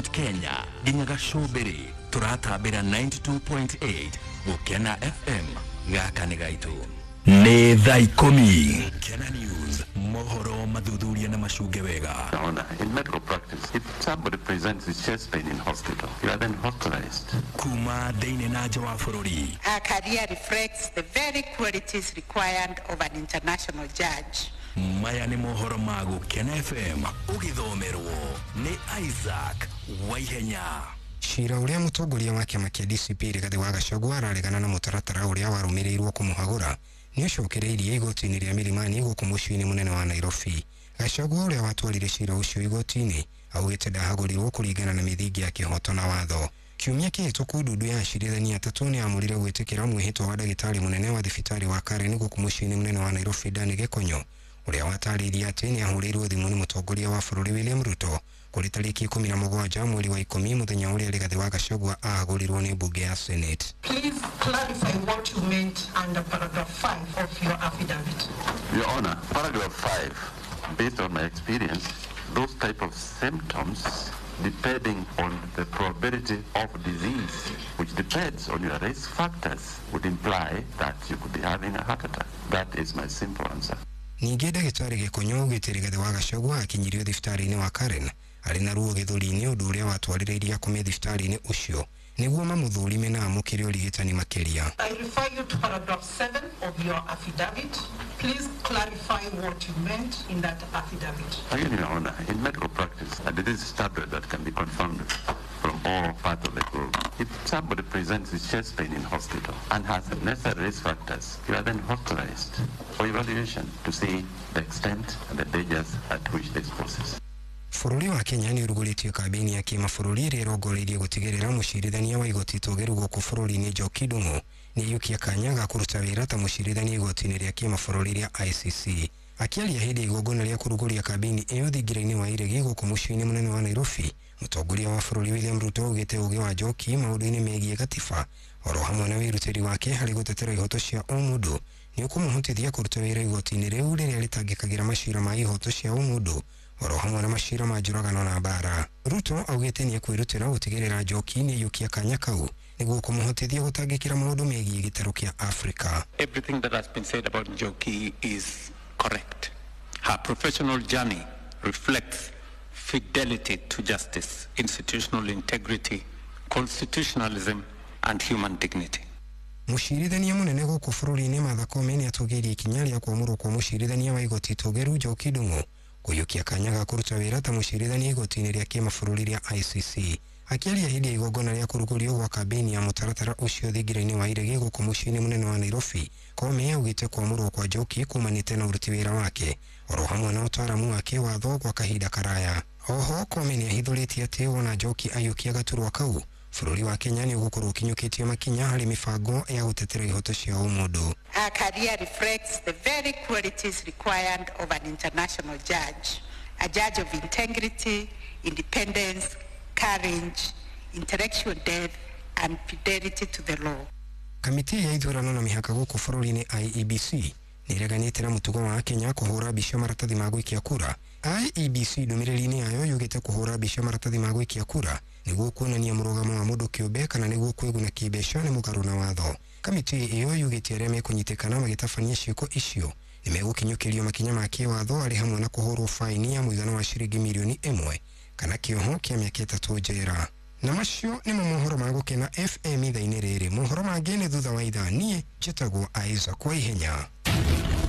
Mount Kenya nginya Gacũmbĩrĩ tũratambĩra 92.8 Gũkena FM. Gaka nĩ gaitũ. Nĩ thaa 10. Gũkena News, mohoro mathuthuria na macunge wega. Honor, in medical practice, if somebody presents with chest pain in hospital, you are then hospitalized. Kuma thĩinĩ na nja wa bũrũri. Her career reflects the very qualities required of an international judge. Maya nĩ mohoro ma Gũkena FM ũgĩthomerwo nĩ Isaac Waihenya. Cira ũrĩa mũtongoria wa kĩama kĩa DCP Rigathĩ wa Gachagua araregana na mũtaratara ũrĩa warũmĩrĩirwo kũmũhagũra nĩ ũcokereirie igoti-inĩ rĩa Milimani gũkũ mũciĩ-inĩ mũnene wa Nairobi. Gachagua ũrĩa watwarire cira ũcio igoti-inĩ augĩte ndahagũrirwo kũringana na mĩthingi ya kĩhoto na watho. Kiumia kĩhĩtũku ndundu ya acirithania atatũ nĩ amũrire gwĩtĩkĩra mwĩhĩtwa wa ndagĩtarĩ mũnene wa thibitarĩ wa Karen gũkũ mũciĩ-inĩ mũnene wa Nairobi Dan Gĩkonyo, ũrĩa watarĩirie atĩ nĩ ahũrĩirwo thimũ nĩ mũtongoria wa bũrũri William Ruto kũrĩ tarĩki 17 mweri wa 10 mũthenya ũrĩa Rigathĩ wa Gachagua ahagũrirwo nĩ mbunge ya Senate. Please clarify what you meant under paragraph 5 of your affidavit. Your Honor, paragraph 5, based on my experience, those type of symptoms depending on the probability of disease, which depends on your risk factors, would imply that you could be having a heart attack. That is my simple answer. Ningĩ ndagĩtarĩ Gĩkonyo augĩte Rigathĩ wa Gachagua akinyirio thibitarĩ-inĩ wa Karen arĩ na ruo gĩthũri-inĩ, ũndũ ũrĩa watwarĩrĩirie akome thibitarĩ-inĩ ũcio nĩguo mamũthũrime na amũkĩre ũrigitani makĩria. I refer you to paragraph 7 of your affidavit. Please clarify what you meant in that affidavit. Again, Your Honor, in medical practice, a disease standard that can be confirmed from all parts of the globe. If somebody presents with chest pain in hospital and has the necessary risk factors, you are then hospitalized for evaluation to see the extent and the dangers at which this poses. Bũrũri wa Kenya nĩ ũrugũrĩtie kambĩini ya kĩmabũrũri ĩrĩa ĩrongoreirie gũtigĩrĩra mũcirithania wa igoti itũgĩru gũkũ bũrũri-inĩ Njoki Ndung'u nĩ aiyũkia kanya ga kũruta wĩra ta mũcirithania igoti-inĩ rĩa kĩmabũrũri rĩa ICC. Akĩaria hĩndĩ ya igongona rĩa kũrugũria kambĩini ĩyo thingira-inĩ wa Iregi gũkũ mũciĩ-inĩ mũnene wa Nairobi, mũtongoria wa bũrũri William Ruto augĩte ũgĩ wa Njoki maũndũ-inĩ megiĩ gatiba oro hamwe na wĩrutĩri wake harĩ gũtetera ihoto cia ũmũndũ nĩ ũkũmũhotithia kũruta wĩra igoti-inĩ rĩu rĩrĩa rĩtangĩkagĩra macira ma ihoto cia ũmũndũ oro hamwe na macira ma njũragano na mbara. Ruto augĩte nĩ ekwĩrutĩra gũtigĩrĩra Njoki nĩ aiyũkia kanya kau nĩguo kũmũhotithia gũtangĩkĩra maũndũ megiĩ gĩtarũ kĩa Afrika. Everything that has been said about Njoki is correct. Her professional journey reflects fidelity to justice, institutional integrity, constitutionalism, and human dignity. Mũcirithania mũnene gũkũ bũrũri-inĩ Martha Koome nĩ atũgĩirie ikinya rĩa kwamũrwo kwa mũcirithania wa igoti itũgĩru Njoki Ndung'u kũiyũkia kanya ga kũruta wĩra ta mũcirithania igoti-inĩ rĩa kĩmabũrũri rĩa ICC. Akĩaria hĩndĩ ya igongona rĩa kũrugũrio gwa kambĩini ya mũtaratara ũcio thingira-inĩ wa Iregi gũkũ mũciĩ-inĩ mũnene wa Nairobi, Koome augĩte kwamũrwo kwa Njoki kumanĩte na ũruti wĩra wake oro hamwe na ũtaaramu wake watho gwa kahinda karaya. Oho Koome nĩ ahithũrĩtie atĩ wona Njoki aiyũkia gaturwa kau, bũrũri wa Kenya nĩ ũgũkorwo ũkinyũkĩtie makinya harĩ mĩbango ya gũtetera ihoto cia ũmũndũ. Her career reflects the very qualities required of an international judge, a judge of integrity, independence, courage, intellectual depth, and fidelity to the law. Kamĩtĩ ya ithurano na mĩhaka gũkũ bũrũri-inĩ IEBC nĩ ĩreganĩte na mũtugo wa Kenya kũhũra mbica maratathi ma gũikia kura. IEBC ndũmĩrĩri-inĩ yayo yugĩte kũhũra mbica maratathi ma gũikia kura nĩguo kuonania mũrũgamo wa mũndũ kĩũmbe kana nĩguo kwĩguna kĩmbeca nĩ mũgarũ na watho. Kamĩtĩ ĩyo yugĩte arĩa mekũnyitĩkana magĩtabania ciĩko icio nĩ megũkinyũkĩrio makinya ma kĩwatho arĩ hamwe na kũhũrwo faini ya mũigana wa ciringi mirioni 1 kana kĩoho kĩa mĩaka 3 njera. Na macio nĩmo mohoro ma Gũkena FM ithaa-inĩ rĩrĩ. Mohoro mangĩ nĩ thutha wa ithaa. Niĩ njĩtagwo Isaac Waihenya.